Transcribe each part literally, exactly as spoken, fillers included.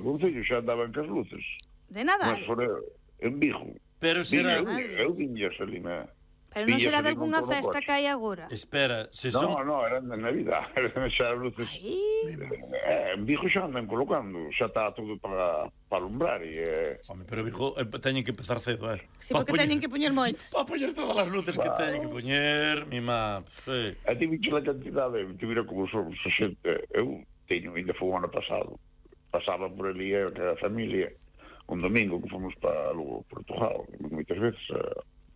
O Concello xa andaban cas luces. De Nadal? Mas fora en Vigo. Pero será... Eu viñas ali na... Pero non será de algunha festa que hai agora? Espera, se son... son... No, no, eran de Navidad. Xa luces... Eh, en Vigo xa andan colocando. Xa está todo para, para alumbrar e... Eh... Home, pero Vigo eh, teñen que empezar cedo, eh? Sí, porque poñer... teñen que poñer moitos. Para poñer todas as luces que teñen que poñer, mima... Sí. A ti bicho a cantidade, te mira como somos a xente. Eu teño, ainda foi o ano pasado. Pasaba por ali a, a familia un domingo que fomos para Lugo, Portugal, moitas veces a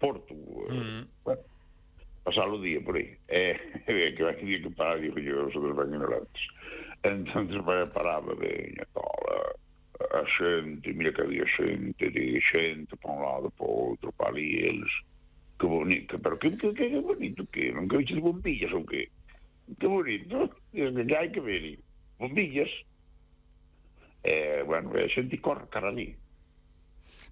Porto, mm. bueno, pasar o día por aí. E eh, que había que parar, digo yo, os outros ben ignorantes. Entonces paraba, veña, toda a xente, mira que había xente, de xente para un lado, para outro, para ali, eles, que bonito, pero que, que, que, que bonito, que non que viches bombillas ou que? Que bonito, que hai que ver, bombillas. Eh, bueno, a xente corre cara ali.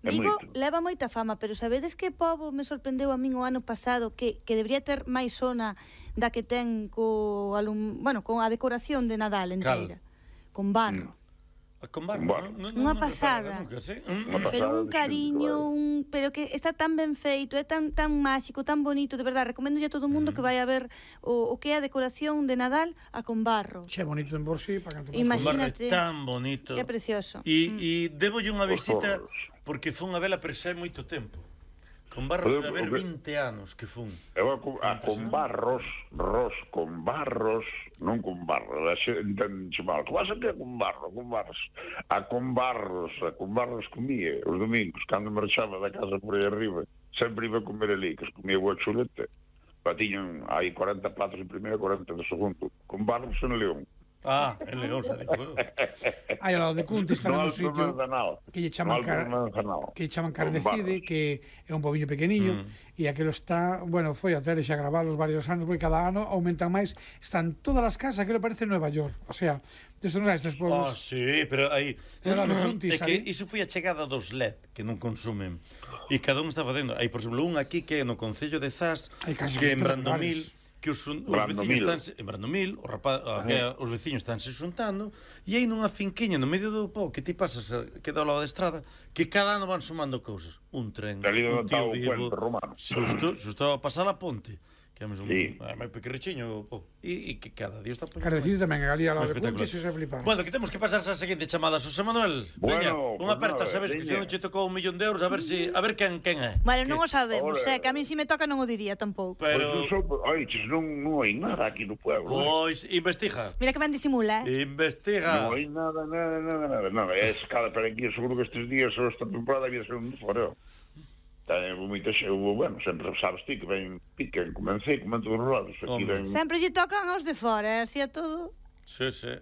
Vigo leva moita fama, pero sabedes que pobo me sorprendeu a min o ano pasado que, que debería ter máis zona da que ten co alum, bueno, con a decoración de Nadal inteira. Cal? Con barro. Mm. Con barro, no, no, unha pasada. Nunca, sí. Pero un cariño, un, pero que está tan ben feito, é tan tan máxico, tan bonito, de verdade, recomendo a todo o mundo mm. que vai a ver o, o que é a decoración de Nadal a con barro. Che bonito en por sí, para canto. Imagínate. Tan bonito. É precioso. E mm. e debolle unha visita porque fun a vela presé moito tempo. Con barro de haber vinte anos que fun. Eu a, a con barros, ros con barros, non con barro, a xente mal. Que vas a que con barro, con barros? A con barros, a con barros comía os domingos, cando marchaba da casa por aí arriba, sempre iba a comer ali, que os comía boa chuleta. Pa tiñan hai cuarenta platos en primeiro, cuarenta de segundo. Con barros en León. Ah, en León, xa dijo. Hai ao lado de Cuntis tamén un sitio que lle chaman car... que lle chaman Cardecide, que é un pobiño pequeniño, mm. e aquilo está, bueno, foi a tele xa gravalos varios anos, porque cada ano aumentan máis, están todas as casas, aquilo parece Nueva York, o sea, desde non estes pueblos. Ah, sí, pero aí é Cuntis, que iso foi a chegada dos L E D, que non consumen, e cada un está facendo, hai, por exemplo, un aquí que é no Concello de Zas, que en Brandomil, que os, os veciños están en Brandomil, os, rapaz, que os veciños están se xuntando, e aí nunha finquiña no medio do pó que ti pasas que dá ao lado da estrada, que cada ano van sumando cousas, un tren, un tío vivo, xusto, xusto a pasar a ponte, que é un sí. máis pequerrichiño, e que cada día está poñendo. Carecido tamén, ali ao lado de Cuntis, e se flipar. Bueno, que temos que pasar a seguinte chamada, Xosé Manuel. Veña, unha aperta, sabes que se non che tocou un millón de euros, a ver si, a ver quen quen é. Bueno, non o sabemos, é que a mí si me toca non o diría tampouco. Pero ai, non non hai nada aquí no pueblo. Pois investiga. Mira que ben disimula, eh. Investiga. Non hai nada, nada, nada, nada. Non, é escala para aquí, seguro que estes días ou esta temporada había ser un foreo. Ten moita xe, bueno, sempre sabes ti que ven piquen, comencei, comento os rodos, aquí ven... Sempre lle tocan aos de fora, así a todo. Sí, sí.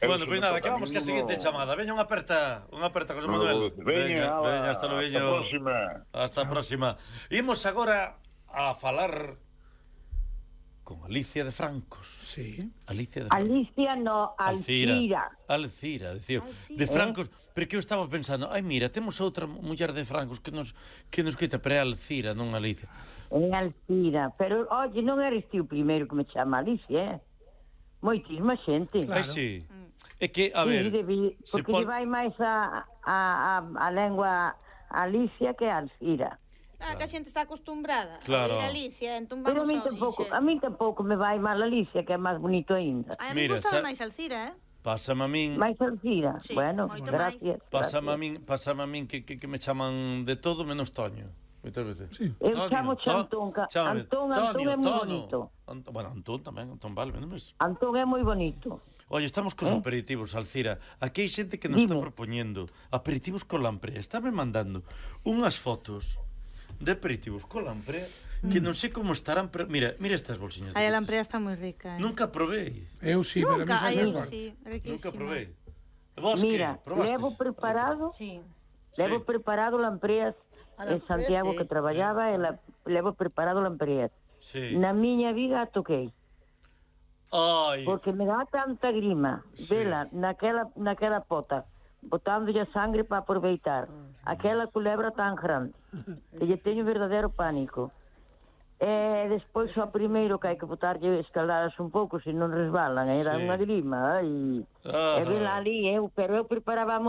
Bueno, pois nada, que vamos que a seguinte chamada. Veña unha aperta, unha aperta, José Manuel. Veña, veña, hasta logo. Hasta a próxima. Hasta a próxima. Imos agora a falar con Alicia de Francos. Sí. Alicia de Francos. Alicia no, Alcira. Alcira, decía. De Francos, porque eu estaba pensando, ai mira, temos outra muller de Francos que nos que nos quita, pero é Alcira, non Alicia. É Alcira, pero oye, non eres ti o primeiro que me chama Alicia, eh? Moitísima xente. Claro. Ai, sí. É que, a ver... Sí, debi, porque pon... lle vai máis a, a, a, a lengua Alicia que a Alcira. Ah, que a xente está acostumbrada claro. a Alicia, entón vamos. Pero a min tampouco, a min tampouco me vai mal Alicia, que é máis bonito aínda. A mí gustaba sa... máis Alcira, eh? Pásame a min... máis Alcira, sí, bueno, gracias. Pásame a min, pásame a min que, que, que me chaman de todo menos Toño. Moitas veces. Sí. Eu Tonio, chamo Antón, to... Antón, Antón é moi bonito. Ant... Bueno, Antón tamén, Antón vale, non mes. Antón é moi bonito. Oye, estamos cos eh? aperitivos, Alcira. Aquí hai xente que nos Dime. está propoñendo aperitivos con lamprea. Estáme mandando unhas fotos de aperitivos con lamprea que non sei como estarán, pero mira, mira estas bolsiñas. Ai, a lamprea está moi rica, eh. Nunca probei. Eu sí, pero Nunca, a mí eu sí, riquísima. Nunca probei. Vos mira, que probastes? levo preparado, sí. levo sí. preparado lampreas en Santiago sí. que traballaba, e la, levo preparado lampreas. Sí. Na miña vida toquei. Ai. Porque me dá tanta grima, sí. vela, naquela, naquela pota, botándolle a sangre para aproveitar. Aquela culebra tan grande, que lle teño verdadeiro pánico. E despois só primeiro que hai que botarlle escaldadas un pouco, se non resbalan, era sí. unha grima, e, e vela ali, eu, pero eu preparaba